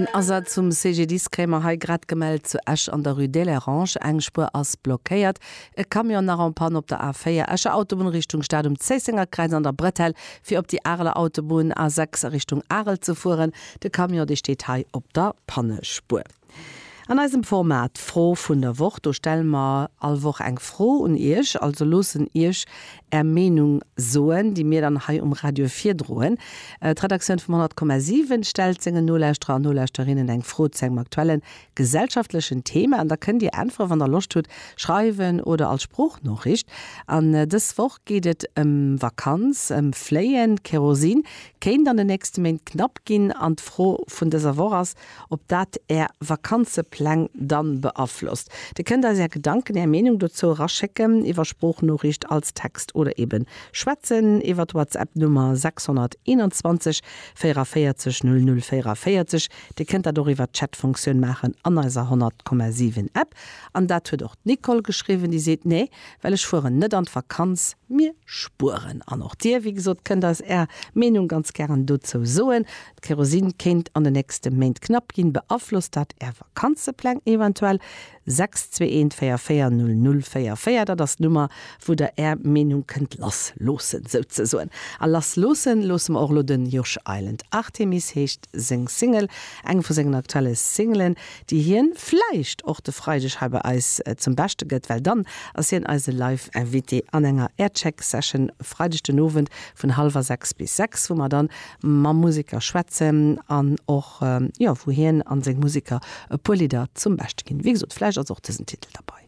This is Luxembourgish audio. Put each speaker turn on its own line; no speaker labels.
En Asaz vum CGDIS kréie mer hei grad gemellt zu Esch an der Rue d'Hélérange. Eng Spuer ass blockéiert. E Camion nach en Panne op der A4 Escher Autobunn Richtung Stad um Zéissenger Kräiz an der Bretelle fir op déi Areler Autobunn A6 a Richtung Arel ze fueren. De Camion dee steet hei op der Pannespuer. An eisem Format Fro vun der Woch, do stelle mer all Woch eng Fro un Iech, also loossen Iech Är Meenung soen, déi mir dann hei um Radio virdroen. D'Redaktioun vum 100,7 stellt sengen Nolauschterer an Nolauschterinnen eng Fro zu engem aktuelle gesellschaftlechen Thema an da kënnt Dir äntweren, wann der Loscht hutt, schreiwen oder als Sproochnoriicht. An dës Woch geet et ëm Vakanz, ëm Fléien. Kerosin kéint an den nächste Méint knapp ginn an d'Fro vun dëser Woch ass, ob dat Är Vakanzepläng dann beaflosst. Dir kënnt eis Är Gedanken, Är Meenung dozou eraschécken iwwer Sproochnoriicht als Text oder eben schwätzen iwwer d'Whatsapp Nummer 621 44 00 44. Dir kënnt dat och iwwer d'Chatfunktioun maachen an eiser 100,7 App. An dat huet och d'Nicole geschriwwen, déi seet, Nee, well ech fueren net an d'Vakanz, mir spueren. An och Dir, wéi gesot, kënnt eis Är Meenung ganz gären dozou soen. D'Kerosin kéint an de nächste Méint knapp ginn. Beaflosst dat Är Vakanzepläng eventuell? 6 21 44 00 44, dat ass d'Nummer, wou der Är Meenung kënnt lass loossen, souzesoen. A lass loossen loosse mer och elo den Josh Island. Artemis heescht seng Single, eng vu sengen aktuelle Singlen, déi hien vläicht och de Freideg hei bei eis zum Beschte gëtt, well dann ass hien eise Live-Invité an enger Aircheck-Session Freideg den Owend vun hallwer 6 bis 6, wou mer dann mam Museker schwätzen an och, jo, wou hien an seng Museker e puer Lidder zum Beschte ginn. Wéi gesot, vläicht ass och dësen Titel derbei.